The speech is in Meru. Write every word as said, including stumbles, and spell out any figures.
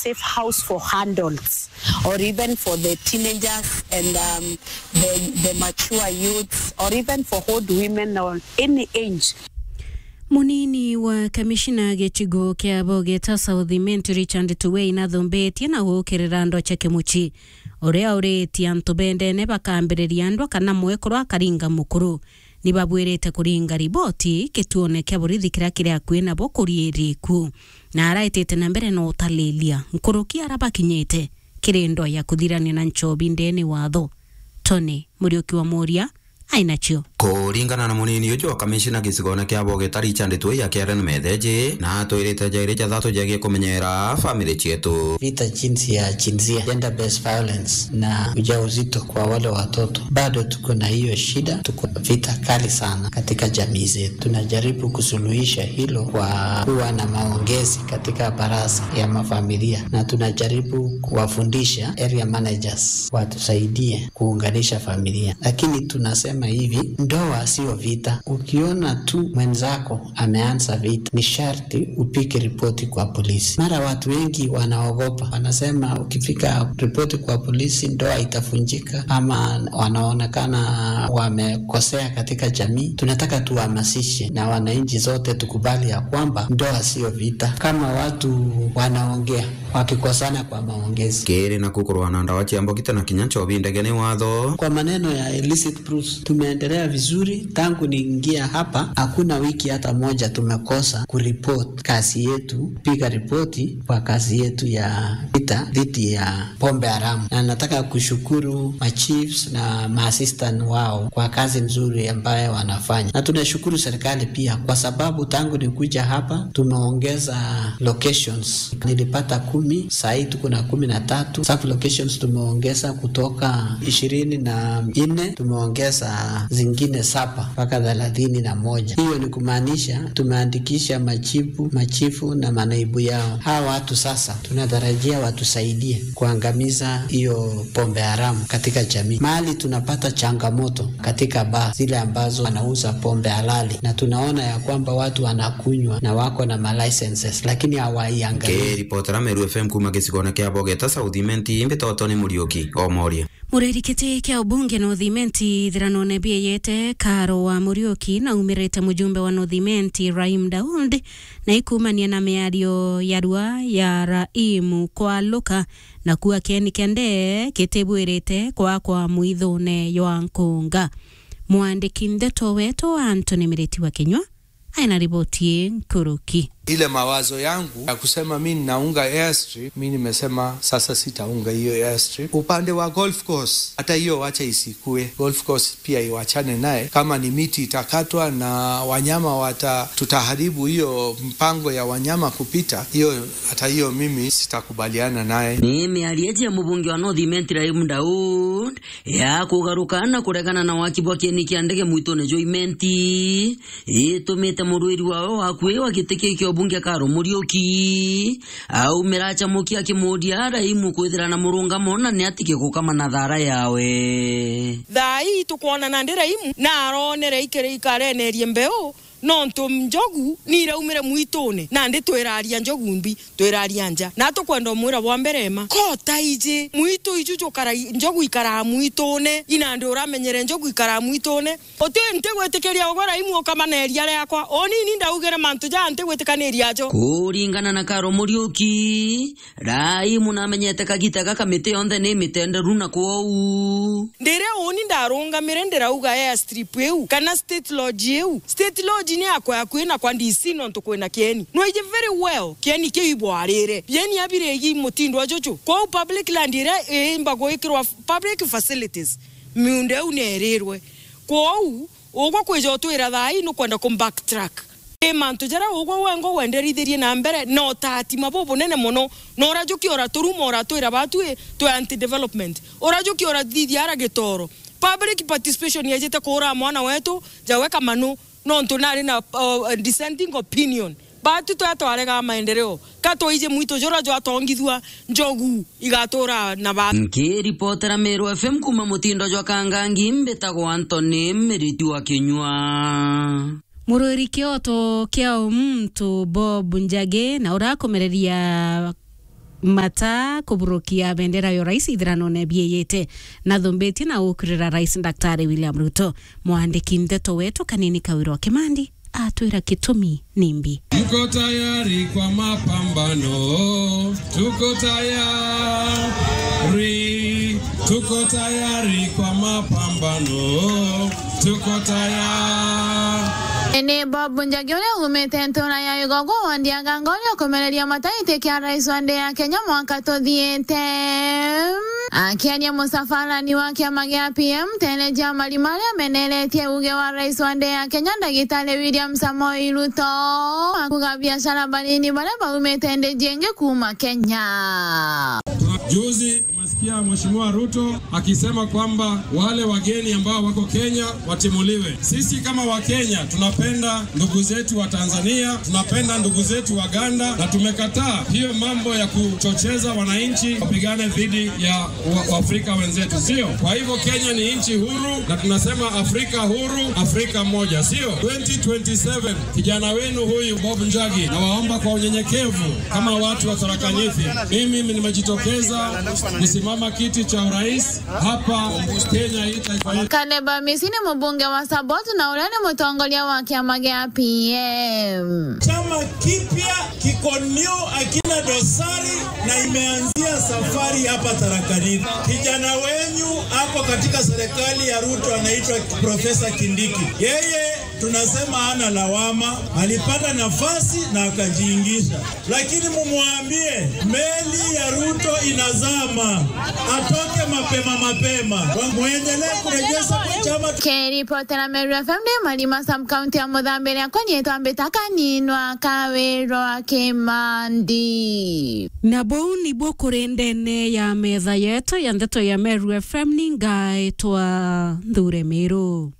safe house for adults or even for the teenagers and, um, the, the mature youths or even for old women or any age. Munini wa kamishina gicigo kia Bogeta South Imenti, Richard Tuwei, nathombetie na gukirira andu cia kimuci, uria uritie antu bendene bakambiriria ndwa kana mwekuru akaringa mukuru. Ni babwirite kuringa riboti gituone kia borithi kiria kiri akui nabo kuria iri ikuo. Na araitite na mbere na utalilia nkuruki ara bakinyite kiri ndwa ya kuthirania na nchobi ndene watho. Tony Muriuki wa Muria ainacio. Kuringana na munini uju wa kamishina gicigone kia Bogeta, Richard Tuwei, akiaria na metheji, na atwirite jairi jathatu jegie kumenyera family cietu. Vita jinsi ya jinsia, gender based violence, na ujauzito kwa wale watoto, bado tuko na hiyo shida. Tuko vita kali sana katika jamii zetu. Tunajaribu kusuluhisha hilo kwa kuwa na maongezi katika baraza ya mafamilia, na tunajaribu kuwafundisha area managers watusaidie kuunganisha familia. Lakini tunasema hivi, ndoa sio vita. Ukiona tu mwenzako ameanza vita, ni sharti upige ripoti kwa polisi. Mara watu wengi wanaogopa, wanasema ukifika ripoti kwa polisi, ndoa itavunjika, ama wanaonekana wamekosea katika jamii. Tunataka tuhamasishe na wananchi zote tukubali ya kwamba ndoa sio vita. Kama watu wanaongea wakikosana kwa maongezi. Kiri naku kurwa na ndawa cia mbogita na kinya nchobi ndege ni watho. Kwa maneno ya illicit brews, tumeendelea vizuri tangu niingia hapa. Hakuna wiki hata moja tumekosa kuripoti kazi yetu, piga ripoti kwa kazi yetu ya vita dhidi ya pombe haramu. Na nataka kushukuru machiefs na maassistant wao kwa kazi nzuri ambayo wanafanya. Na tunashukuru serikali pia kwa sababu tangu nikuja hapa tumeongeza locations. Nilipata kumi, saa hii tuko na kumi na tatu. Sub locations tumeongeza kutoka ishirini na nne, tumeongeza zingine saba mpaka thelathini na moja. Hiyo ni kumaanisha tumeandikisha machifu, machifu na manaibu yao. Hawa watu sasa tunatarajia watusaidie kuangamiza hiyo pombe haramu katika jamii. Mahali tunapata changamoto katika baa zile ambazo wanauza pombe halali, na tunaona ya kwamba watu wanakunywa na wako na ma licenses, lakini hawaiangalii. Nkiripotera Meru F M kuma gicigone kia Bogeta South Imenti, mbitagwa Tony Muriuki o Moria. Mureri kiti kia ubunge North Imenti ithiranone bieyete Karo wa Muriuki na umirite mujumbe wa North Imenti Rahim Daud, na ikumania na miario ya rua ya Rahim kwaluka na kuua kieni kia ndee kitibwirite kwakwa mwithune jwa nkunga. Mwandiki ndeto wetu Anthony Miriti wa Kinyua aina riboti ii nkuruki. Ile mawazo yangu ya kusema mi ninaunga airstrip, mi nimesema sasa sitaunga hiyo airstrip. Upande wa golf course, hata hiyo wacha isikue. Golf course pia iwachane naye. Kama ni miti itakatwa na wanyama wata-, tutaharibu hiyo mpango ya wanyama kupita, hiyo, hata hiyo mimi sitakubaliana naye. Ni miario ya mubunge wa North Imenti Rahim Daud ya kugaruka na kuregana na waki bwa kieni kia ndege mwitune jwa Imenti itumite murwiri wawe wa akui wa giti kiu kia ubunge Karo Muriuki aumira achamukia akimuria Rahim kwithira na murungamo na ni atike gukama na thara yawe. Thaa ii tukwona nandi Rahim na aronere ikiri ikarenerie mbeu, nontu njogu ni iraumire mwitune, nandi twiraria njogu mbi, twiraria nja. Na tukwenda umwira bwa mbere ma, kota iji mwitu iju jukara, njogu ikaraa mwitune, inandi uramenyere njogu ikaraa mwitune. Uti ntigwitikiria ugwe Rahim ukama na iria riakwa. Unini ndaugire mantu jaa ntigwitikaniria jo. Kuringana na Karo Muriuki, Rahim namenyete kagita gaka miti yonthe ni mitenderu na kwou. Ndiria uni ndarungamire ndirauga airstrip iu kana state lodge iu. State lodge ni yakwa, yakui na kwa D C nontu kwina kieni. Nwiji very well kieni kiu ibwarire. Bieni abirigi mutindo juju. Kwou public land iria iimba gwikirwa public facilities, miunda iu nierirwe. Kwou, ugwe kwija utwira thaa ii nukwenda ku backtrack. I mantu jaria ugwe wengwa wenderithirie na mbere na utatima bubunene mono, na urajukia uraturuma uratwira batwi twi anti development. Urajukia urathithia ara gitoro. Public participation yejite kuura mwana wetu, jawe kamanu, nontu nari na, uh, dissenting opinion. Batu twa twarega maendeleo. Ka twaije mwitu jura jwatongithua, njogu igatura na ba. Nkiripotera Meru F M kuma mutindo jwa Kangangi, mbitagwa Anthony Miriti wa Kinyua. Murwiri kioto kia umuntu Bob Njagi na urakumereria mata kuburukia bendera ya urais ithiranone bieyete, nathumbitie na ukurira Rais Daktari William Ruto. Mwandiki ndeto wetu Kanini Kawira wa Kimandi atwira gitumi nimbi. Mko tayari kwa mapambano? Tuko tayari, tuko tayari kwa mapambano, tuko tayari. Ni Bob Njagi uria umite ntura ya Igogo, wandi ya Ganga, uria ukumereria mataiti kia rais wa nthi ya Kenya mwaka tuthiite. Akiaria musafarani wa kiama gia P M, Tene Jia Marima aria ameneretie uge wa rais wa nthi ya Kenya, Ndagitari William Samoei Ruto, akuga biashara banini baria baumite nthi jingi kuuma Kenya. Juzi tumesikia Mheshimiwa Ruto akisema kwamba wale wageni ambao wako Kenya watimuliwe. Sisi kama Wakenya tunapenda ndugu zetu wa Tanzania, tunapenda ndugu zetu wa Uganda, na tumekataa hiyo mambo ya kuchocheza wananchi wapigane dhidi ya wa-, Waafrika wenzetu, sio? Kwa hivyo Kenya ni nchi huru, na tunasema Afrika huru, Afrika moja, sio? Twenty twenty-seven, kijana wenu huyu Bob Njagi, nawaomba kwa unyenyekevu kama watu wa Tharaka Nithi, mimi nimejitokeza kusimama kiti cha urais hapa Kenya hii taifa yetu. Caleb Amisi ni mubunge wa Saboti na uria ni mutongoria wa kiama gia P M. Chama kipya kiko new, akina dosari, na imeanzia safari hapa Tharaka Nithi. Kijana wenyu ako katika serikali ya Ruto, anaitwa Profesa Kindiki. Yeye tunasema hana lawama, alipata nafasi na akajiingisha. Lakini mumwambie, meli ya Ruto inazama, atoke mapema mapema. Muendelee kurejesha kwa chama. Kiripotera Meru F M ndi Marima, sub-county ya Muthambi, riakwa niitwa Mbita Kaninwa Kawirwa Kimandi. Na buu nibuo kuri ndene ya metha yetu ya ndeto ya Meru F M, ni ngaitwa Nthure Miru.